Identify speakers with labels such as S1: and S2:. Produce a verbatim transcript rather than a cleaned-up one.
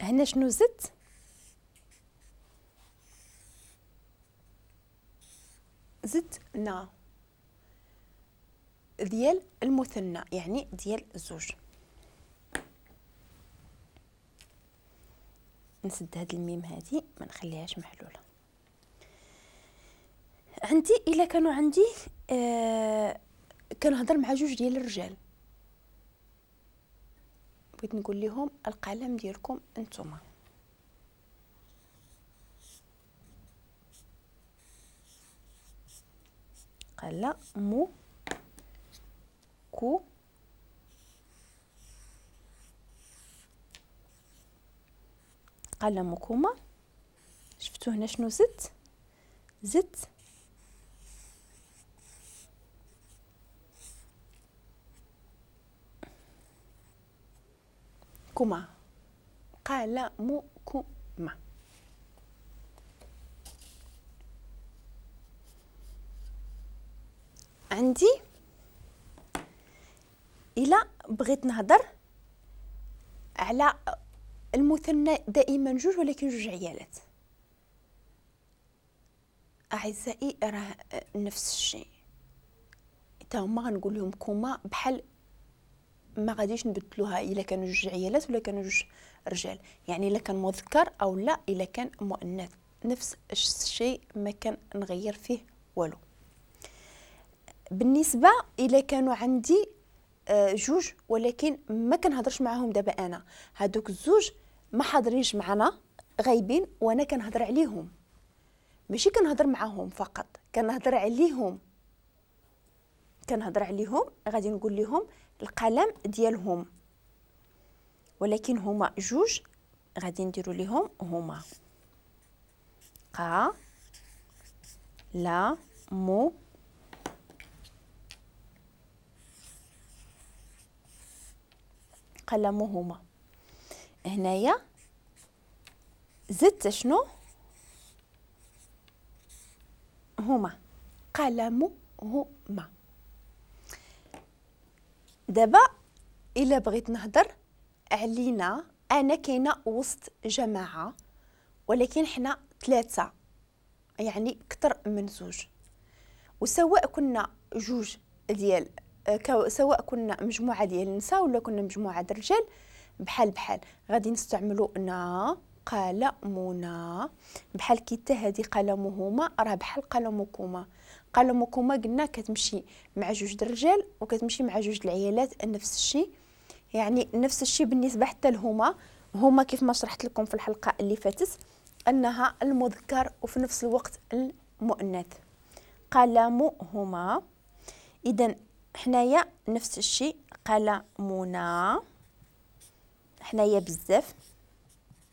S1: هنا شنو زدت؟ زدت نا ديال المثنى، يعني ديال الزوج. نسد هاد الميم هادي ما نخليهاش محلولة. عندي الا كانوا عندي آه كنهضر مع جوج ديال الرجال، بغيت نقول لهم القلم ديالكم انتما. قلم كو قلمكما. شفتوا هنا شنو زدت؟ زدت كما، قلمكما. عندي إلا بغيت نهضر على المثنى دائما جوج ولكن جوج عيالات. أعزائي راه نفس الشيء، حتى هما غنقول لهم كما، بحال ما غاديش نبدلوها الا كانوا جوج عيالات ولا كانوا جوج رجال، يعني الا كان مذكر او لا الا كان مؤنث، نفس الشيء ما كان نغير فيه والو. بالنسبة الا كانوا عندي جوج ولكن ما كنهضرش معاهم دابا انا، هادوك الزوج ما حاضرينش معنا، غايبين، وانا كنهضر عليهم، ماشي كنهضر معاهم فقط، كنهضر عليهم. كنهضر عليهم غادي نقول لهم القلم ديالهم، ولكن هما جوج غادي نديروا لهم هما قا لا مو قلمهما. هنايا زدت شنو؟ هما قلمهما. دابا الا بغيت نهضر علينا انا كاينه وسط جماعة ولكن حنا ثلاثة، يعني اكثر من زوج، وسواء كنا جوج ديال سواء كنا مجموعة ديال النساء ولا كنا مجموعة ديال الرجال، بحال بحال غادي نستعملوا نا قلمنا. بحال كي حتى هذه قلمهما راه بحال قلمكما. قلمكما قلنا كتمشي مع جوج د الرجال وكتمشي مع جوج العيالات، نفس الشيء، يعني نفس الشيء بالنسبة حتى لهما. هما كيف ما شرحت لكم في الحلقة اللي فاتت انها المذكر وفي نفس الوقت المؤنث، قلمهما. اذا حنايا نفس الشيء قلمنا، حنايا بزاف.